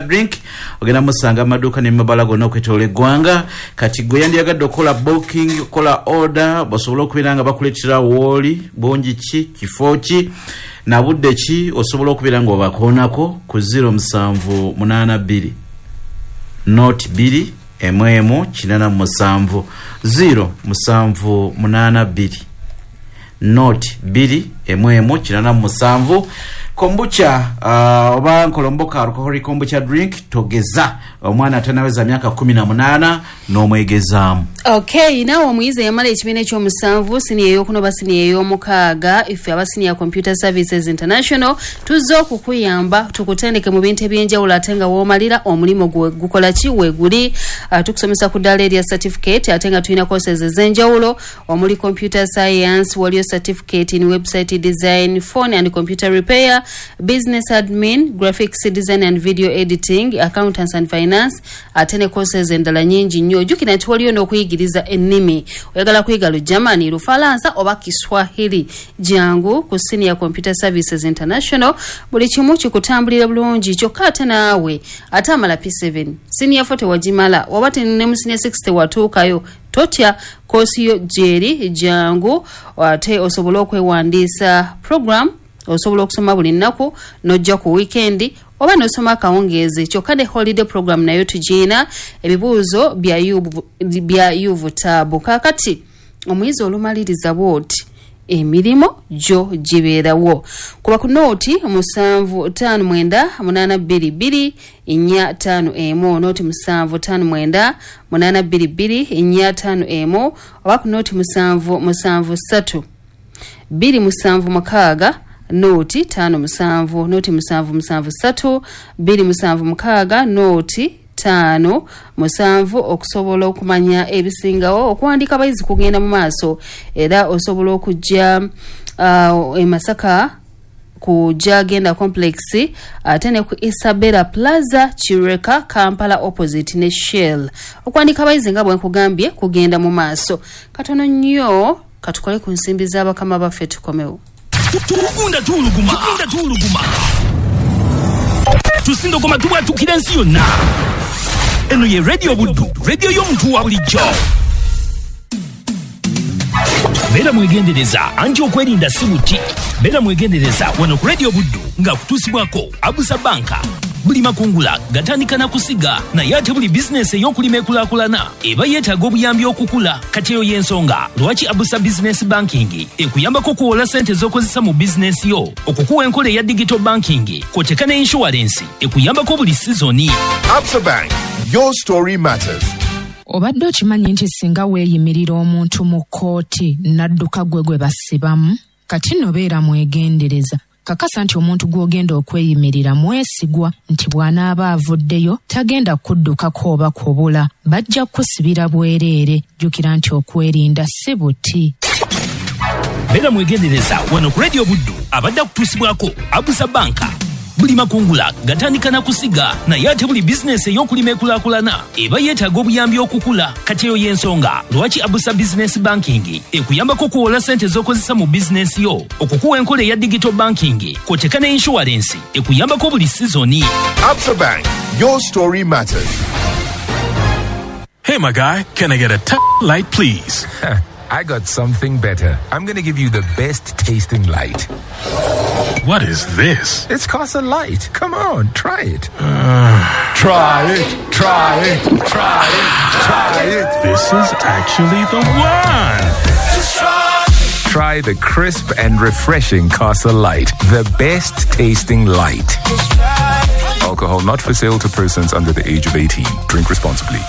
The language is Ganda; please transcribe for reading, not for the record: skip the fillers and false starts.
Drink ogenda musanga amaduuka nemabala gonna okwetoola eggwanga. Kati gwe yandiyagadde okukola booking, okukola order, basobole okubeera nga bakuleetera wooli, bungi ki, kifo ki, na budde ki, osobola okubeera nga obakoonako ku 0782 02 11 87, 0782 02 11 87. Kombucha oba nkolomboka alcoholic kombucha drink, togeza omwana atanaweza myaka 18 n'omwegezaamu. Okay, naawe omuyizi eyamala ekibiina ekyomusanvu, siniya eyokuna oba siniya ey'omukaaga, ife aba Senior Computer Services International tuzze okukuyamba tukutendeke mu bintu ebyenjawulo, ate nga woomalira omulimu gwe gukola ki weeguli. Tukusomesa ku ddaala erya certificate, ate nga tulina courses ez'enjawulo omuli computer science, waliyo certificate in website design, phone and computer repair, business admin, graphics design and video editing, accountants and finance, ate ne courses endala nyingi nnyo. Ojjukira nti waliyo n'okuyigiriza ennimi. Oyagala kuyiga Lugermany, Lufalansa oba Kiswahili, jangu ku Senior Computer Services International, buli kimu kikutambulira bulungi. Kyokka ate naawe ate amala P7, senior 4 tewagimala, oba ne mu senior 6 tewatuukayo, totya, koosi yo gyeri, jangu ate osobole okwewandiisa. Program osobola okusoma buli nnaku n'ojja ku weekend oba n'osoma akawungeezi, kyokka ne holiday program nayo tugiina. Ebibuuzo bya UVTAB. Kaakati omuyizi olumaliriza bwoti, emirimu gyo gibeerawo. Kuba ku nooti 759 822 451, nooti 759 822 451, oba ku nooti 773 276 nooti 57, nooti 773 276 nooti 57, okusobola okumanya ebisingawo. Okuwandika abayizi kugenda mu maaso, era osobola okujja e Masaka ku Jagenda Complex, ate ne ku Isabella Plaza, Kireka, Kampala, opposite ne Shell. Okuwandika abayizi nga bwe nkugambye kugenda mu maaso. Katono nnyo katukole ku nsimbi z'abakama baffe, tukomewo. Tugunda tuwuluguma, tugunda tuwuluguma, tusindogoma, tubwatukira ensi yonna. Eno ye Radio Buddu, radio y'omuntu wa bulijjo. Beera mwegendereza, anti okwerinda si buti. Beera mwegendereza wano ku Radio Buddu, nga kutuusibwako Abusa Banka. Buli makungula gatandika na kusiga, naye ate buli bizinesi ey'okulima ekulaakulana eba yeetaaga obuyambi okukula. Kati eyo y'ensonga lwaki Abusa Business Banking ekuyambako okuwola sente z'okozesa mu bizinesi yo, okukuwa enkola eya digital banking, kw'oteeka ne insurance ekuyambako buli sizoni. Absa Bank, your story matters. Obadde okimanyi nti singa weeyimirira omuntu mu kkooti n'adduka, gwe gwe basibamu? Kati nno beera mwegendereza. Kakasa nti omuntu gw'ogenda okweyimirira mwesigwa, nti bw'anaaba avuddeyo tagenda kuddukako oba kubula. Bajja kukusibira bwereere. Jjukira nti okwerinda si buti. Beera mwegendereza wano ku Radio Buddu, abadde akutuusibwako Abusa Banka. Buli makungula gatandika na kusiga, naye ate buli bizinesi ey'okulima ekulaakulana eba yeetaaga obuyambi okukula. Kati eyo y'ensonga lwaki Abusa Business Banking ekuyambako okuwola sente z'okozesa mu bizinesi yo, okukuwa enkola eya digital banking, kw'oteeka ne insurance ekuyambako buli sizoni. Absa Bank, your story matters. Hey, my guy, can I get a light, please? I got something better. I'm going to give you the best tasting light. What is this? It's Casa Light. Come on, try it. Try it, try it, try it, try it. This is actually the one. Try the crisp and refreshing Casa Light, the best tasting light. Alcohol not for sale to persons under the age of 18. Drink responsibly.